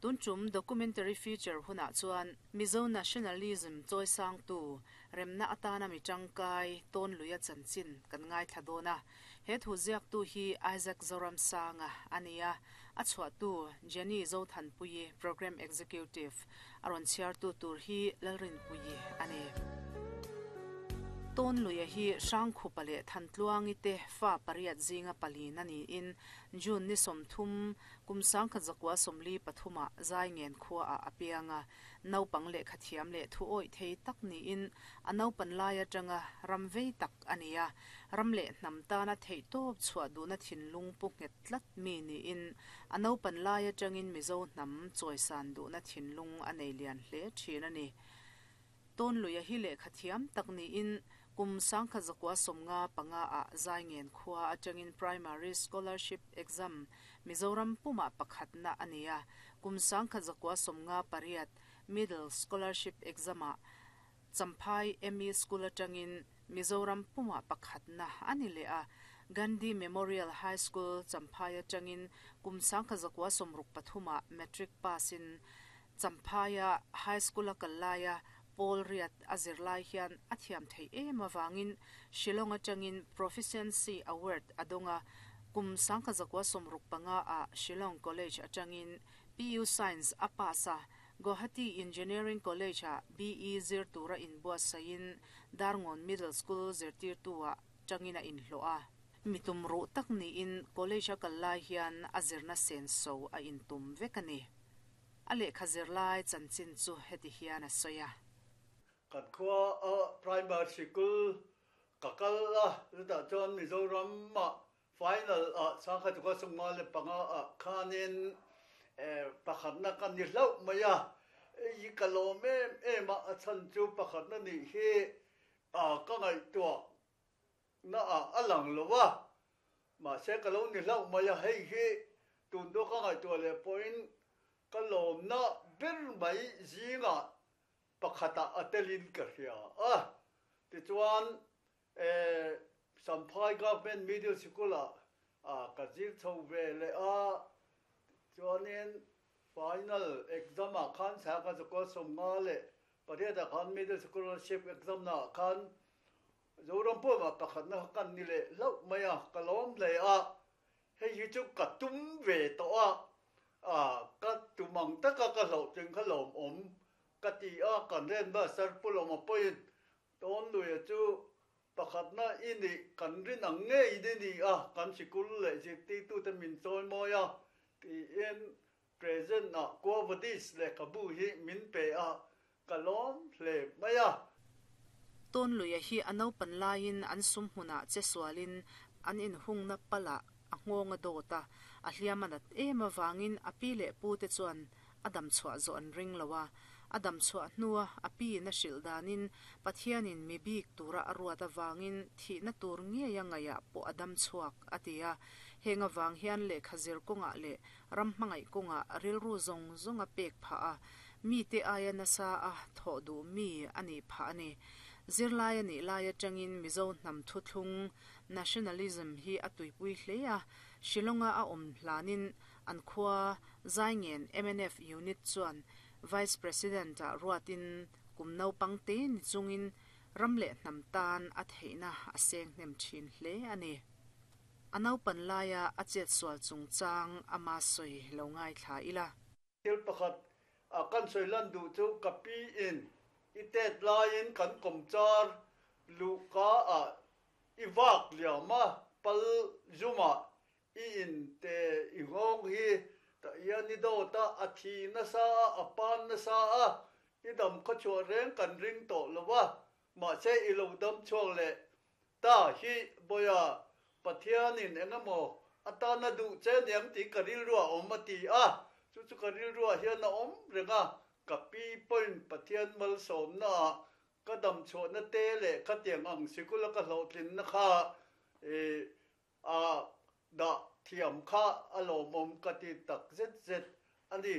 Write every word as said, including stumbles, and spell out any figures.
Tun tum documentary feature hunah chuan Mizo nationalism chawisangtu remna atana mi tangkai Tawnluia chanchin kan ngaithla dawn a. He thu ziaktu hi Isaac Zoramsanga a ni a, a chhuahtu Jenny Zothanpuii Programme Executive a rawn chhiartu tur hi Lalrinpuii a ni. Tawnluia hi Hrangkhupa leh Thantluangi te fa pariat zinga palin a niin June ni sawmthum kum sangkhat zakua sawmli pathuma Zaingen khua a apianga naupang leh khathiam leh thu awih thei tak niin a naupan lai atanga ram vei tak a ni a, ram leh hnam tana theih tawp chhuah duhna thinlung pu nghet tlat mi niin a naupan lai atangin Mizo hnam chawisan duhna thinlung a nei lian hle thin a ni. Tawnluia hi leh khathiam tak niin kum sangkhat zakua sawmnga panga a Zaingen khua atangin primary scholarship exam Mizoram puma pakhatna a ni a, kum sangkhat zakua sawmnga pariat middle scholarship exam a Champhai M E School atangin Mizoram puma pakhatna a ni leh a, Gandhi Memorial High School Champhai atangin kum sangkhat zakua sawmruk pathuma matric pass in Champhaia High School a kallaya Paul Riat a zirlai hian a thiam thei em awangin Shillong atangin Proficiency Award adonga kum sangkhat zakua sawmruk panga a Shillong College atangin P U Science a pass a, Guwahati Engineering College a B E zir tura inbuatsain Darngawn Middle School zirtirtu a tangina inhlo a. Mitum ru tak niin college a kallai hian a zirna sen so a intum vek a ni. A lehkha zirlai chanchin chu heti hian a sawi a. Kan khua a primary school ka kal a, chutah chuan Mizoram ah final ah sangkhat zakua sawmnga leh panga ah khanin pakhatna kan ni hlauh mai a. I ka lawm em em a, a chhan chu pakhatna nih hi a ka ngaihtuah na ah a lang lo a, mahse ka lo ni hlauh mai a, hei hi tun daw ka ngaihtuah leh pawhin ka lawmna ber mai zingah pakhata a telin ka hria a. Tichuan Champhai Government Middle School ah ka zir chho ve leh a, chuanin final exam ah khan sangkhat zakua sawmnga leh pariat ah khan middle scholarship exam na ah khan Zoram puma pakhatna kan ni leh hlauh mai a, ka lawm hle a, hei hi chu ka tum ve tawh a, a ka tumang taka ka hlauh tling kha lawm awm ka ti a, kan ren master pu lawm a pawhin Tawnluia chu pakhatna i ni kan rin ang ngei ni ni a, kan sikul leh zirtirtute min chawi mawi a tiin present ah Quo Vadis lehkhabu hi min pe a, ka lawm hle mai a. Tawnluia hi a naupan laiin an sum hmunah che sualin an inhungna palah a nghawng a dawt a, a hliam a nat em awangin a pi leh pu te chuan a dam chhuah zawh an ring lo a, a dam chhuah hnua a pi in a hrilh danin Pathianin mi bik tura a ruat awangin thihna tur ngei a ngaihah pawh a dam chhuak a ti a, heng awang hian lehkha zir kawngah leh ram hmangaih kawngah rilru zawng zawng a pek phah a, mi te aia nasa a thawh duh mi a nih phah a ni. Zirlai a nih lai atangin Mizo hnam thuthlung nationalism hi a tuipui hle a, Shillonga a awm hlanin an khua Zaingen M N F unit chuan Vice President ah ruatin kum naupang te ni chungin ram leh hnam tan a theihna a seng hnem thin hle a ni. A naupan laia a chet sual chungchang ama sawi lo ngaithla ila. Thil pakhat a kan sawi lan duh chu ka pi in i tet laiin kan kawmchar luhka ah i vak liam a, pal zumah i in te i nghawng hi ta hian i dawt a, a thi nasa a, a pan nasa a, i dam khaw chhuah reng kan ring tawh lo a, mahse i lo dam chhuak leh ta hi bawia Pathianin engemaw atana duh che niang tih ka rilru a awm a ti a, chu chu ka rilru ah hian a awm reng a, ka pi pawhin Pathian malsawmna ah ka dam chhuahna te leh khatiang ang sikula ka hlawhtlinna kha a dah thiam kha a lawmawm ka ti tak zet zet a ni.